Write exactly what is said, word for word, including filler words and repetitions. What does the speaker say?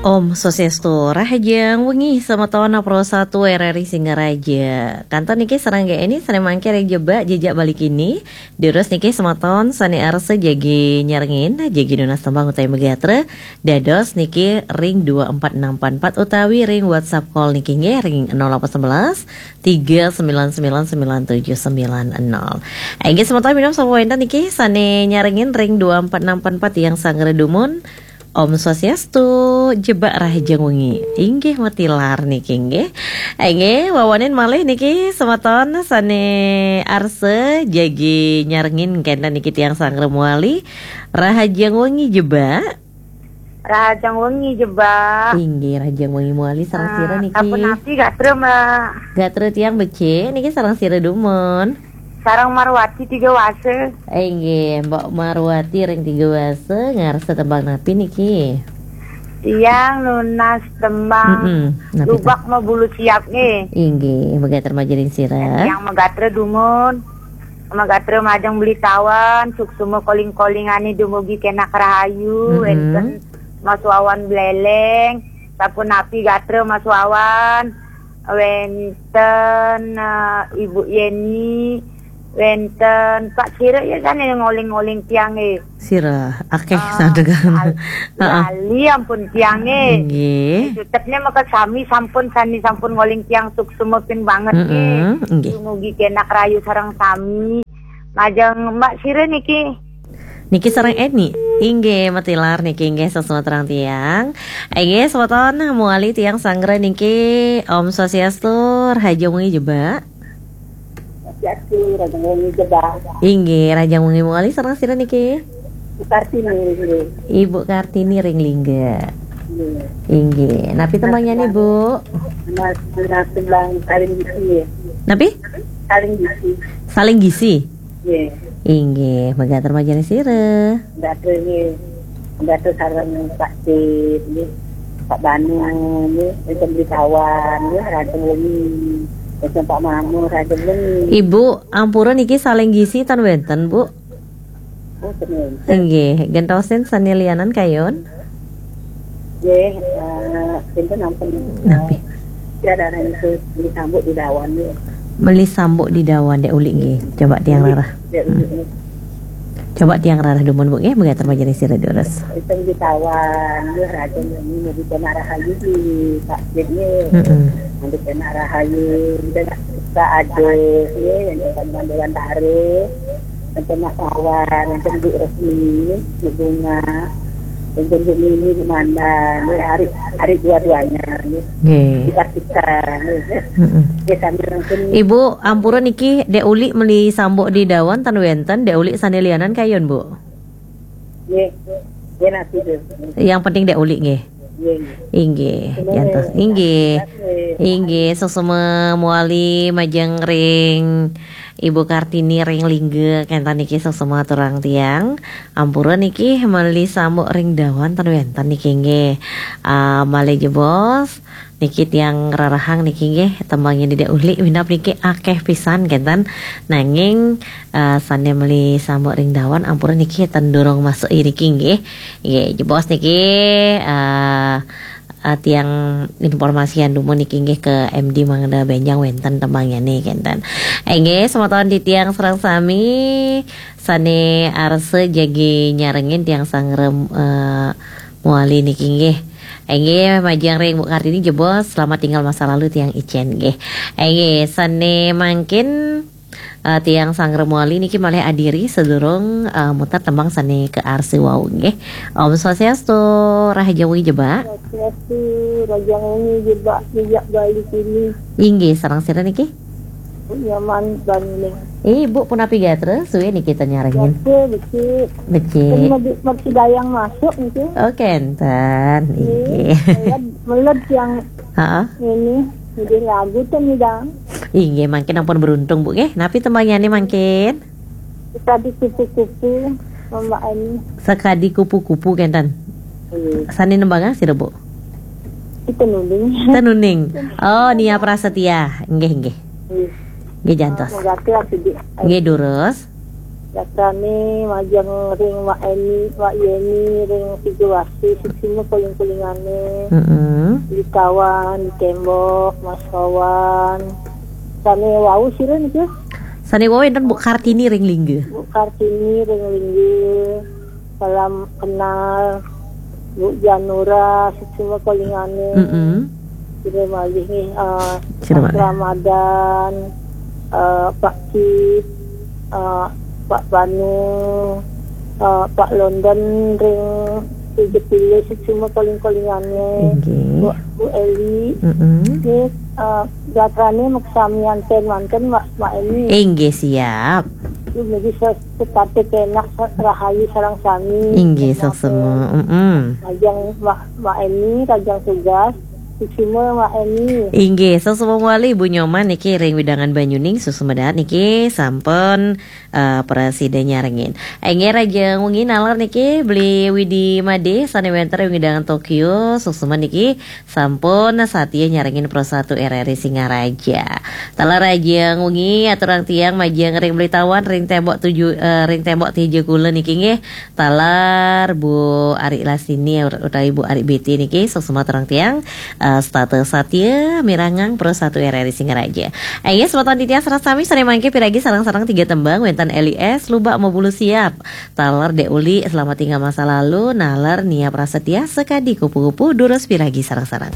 Om Swastiastu, rahajeng wengi semeton Pro Satu R R I Singaraja. Kantun niki sareng G N I sané mangkin ring Jebak Jejak Bali Kini. Durus niki semeton sané arsa jagi nyarengin, jagi nunas tembang utawi magatra. Dados niki ring dua empat enam empat empat utawi ring WhatsApp call niki nggih ring nol delapan sebelas tiga sembilan sembilan sembilan tujuh sembilan nol. Inggih semeton minab sampun wénten niki sané nyarengin ring dua empat enam empat empat tiang sanggra dumun. Om Swastiastu, Jebak rahajeng wengi. Inggih matilar niki nggih. Inggih, wawanin malih niki semeton sané arsa jagi nyarengin kénten niki tiang sanggra mawali. Rahajeng wengi Jebak. Rahajeng wengi Jebak. Inggih, rahajeng wengi mawali sareng sira niki. Sapunapi gatra, Mbak? Gatra tiang becik niki sareng sira dumun. Sareng Marwati Tiga Wasa. Inggih, Mbok Marwati ring Tiga Wasa, ngarsa tembang napi niki? Tiang nunas tembang Mm-mm, napi Lubak Mabulu Siap nggih. Inggih, magatra majeng ring sira. Tiang magatra dumun. Magatra majeng Beli Tawan, suksma koling-kolingané dumugi kenak rahayu, Mm-mm. Wénten Mas Wawan Bleleng, sapunapi gatra Mas Wawan, wénten, eh, Ibu Yeni, wénten Pak Sira ya kan yang ngoling-ngoling tiang, eh. Sira, akéh. Ah, sandegan. Lal-, Heeh. Lali ampun tiang, eh. Nggih. Sutetnya maka sami sampun, sami sampun ngoling tiang suksma pin banget, eh. Mm-mm, nggih. Dumugi kenak rahayu sareng sami. Majeng Mbak Sira niki. Niki sareng Eni. Inggih, matilar niki inggih sesuatu terang tiang. Inggih, semeton mawali tiang sanggra niki. Om Swastiastu, rahajeng wengi Jebak. Swastiastu, rahajeng wengi Jebak. Inggih, rahajeng wengi mawali sareng sira niki. Bu Kartini, inggih. Ibu Kartini ring Lingga. Inggih. Inggih. Napi tembangnya nih, Bu? Mas, mas tembang Saling Gisi, ya. Napi? Saling Gisi. Saling Gisi. Nggih. Inggih, magatra majeng sira. Gatra nggih. Gatra sareng Pak Cip nggih. Pak Banu nggih, wénten Beli Tawan nggih, rahajeng wengi. Wénten Pak Mamu, rahajeng wengi. Ibu, ampura niki Saling Gisi tan wénten, Bu? Oh, ten wénten. Inggih, gentosin sané lianan kayun. Nggih, eh, pinten ampun, eh, napi? Tiada orang itu disambut di dawan, nggih. Meli sambuk di dawan, Dek Uli, nggih. Coba tiang rarah. Dek Uli, hmm, nggih. Coba tiang rarah dumun, Bu, nggih, magatra majeng sira durus. Itu di dawan, nggih, rahajeng wengi, mau di kena rahayu di Pak Cip, nggih. Mm-mm. Mau di kena rahayu, kita nggak suka ada, nggih, yang dewan-dewan taruh. Wénten Mas Wawan, wénten Bu Resmi, Bu Bunga, wénten Bu Mini, Bu Manda, nggih, ari, ari dua-duanya, nggih. Nggih. Bu Kartika, nggih. Mm-mm. Nggih, sami wénten. Ibu, ampura niki, Dek Uli meli sambuk di dawan tan wénten, Dek Uli sané lianan kayun, Bu? Nggih. Nggih, napi, Bu? Yang penting Dek Uli, nggih. Nggih, nggih. Inggih, nggih, jantos. Inggih. Nggih. Inggih, suksma mawali majeng ring Ibu Kartini ring Lingga, kénten niki suksma aturang tiang. Ampura niki meli sambuk ring dawan ten wénten niki nggih. Ah, malih jebos niki tiang rarahang niki nggih, tembangnya Dek Uli minab niki akéh pisan kénten. Nanging, ah, sané meli sambuk ring dawan ampura niki ten durung masuk iriki nggih. Nggih, jebos niki, ah, ah, tiang informasian dumun niki nggih ke M D mangda bénjang wénten tembangnyané kénten. Inggih, semeton titiang sareng sami sané arsa jagi nyarengin tiang sangrem, eh, mawali niki nggih. Inggih, majeng ring Bu Kartini jebos, selamat tinggal masa lalu tiang icén nggih. Inggih, sané mangkin eh, tiang sangrem mawali niki malih adiri sadurung, eh, muter tembang sané kaarsa wau nggih. Om Swastiastu, rahajeng wengi Jebak. Swastiastu, rahajeng wengi Jebak, Jejak Bali Kini. Inggih, sareng sira niki? Bu Nyoman Bangli. Eh, Bu, punapi gatra, suwé niki ten nyarengin. Gatra, becik. Becik. Ten medi-, medi dayang masuk niki. Oh, kénten. Inggih. Inggih. Meled, meled tiang Heeh. Ini, ini lagu ten nyidang. Inggih, mangkin ampun beruntung, Bu, nggih. Napi tembangnyané mangkin? Sakadi kupu-kupu, Mbak Ani. Sakadi kupu-kupu, kénten. Iya. Sané nembangang sira, Bu? Itu nuning. Tenuning. Oh, Nia Prasetya. Nggih, nggih. Iya. Nggih, jantos. Ah, mangga ati, Dek. Nggih, durus. Katane majeng ring Mak Eni, Mak Yeni, ring Sidoarjo, suksma koling-kolingane. Mm-mm. Di Kawan, di Tembok, Mas Kawan. Sane wau sira niki? Sane wau enten Bu Kartini ring Lingga. Bu Kartini ring Lingga. Salam kenal Bu Janura, suksma kolingane. Mm-mm. Sira malih nggih, eh, Sira Mas malih. Ramadan, eh, Pak Kit, eh, Pak Banu, eh, Pak London ring Jepile, suksma koling-kolingane. Inggih. Bu, Bu Eli. Mm-mm. Nggih, eh, gatrane maksami anten manten, Mak, Mak Eni. Inggih, siap. Dumugi se-, setata kenak, se-, rahayu sareng sami. Inggih, Kenak suksma. Mm-mm. Rajang Mak, Mak Eni, rajang tugas. Suksma Mak Eni. Inggih, suksma malih Bu Nyoman niki ring wewidangan Banyuning, suksma dahat niki sampun eh, prasida nyarengin. Inggih, rajang wengi naler niki Beli Widi Made sane wenten ring wewidangan Tokyo, suksma niki sampun satia nyarengin Pro satu R R I Singaraja. Taler rajang wengi aturang tiang majeng ring Beli Tawan ring tembok tujuh, eh, ring tembok tiga kula niki nggih. Taler Bu Ari Lasini utawi Bu Ari B T niki, suksma aturang tiang, eh, setata satia mirengang Pro satu R R I Singaraja. Inggih, semeton titiang sareng sami sane mangke piragi sareng-sareng tiga tembang, wenten Eli S, Lubak Mabulu Siap. Taler Dek Uli, Selamat Tinggal Masa Lalu, naler Nia Prasetya, Sekadi Kupu-kupu, durus piragi sareng-sareng.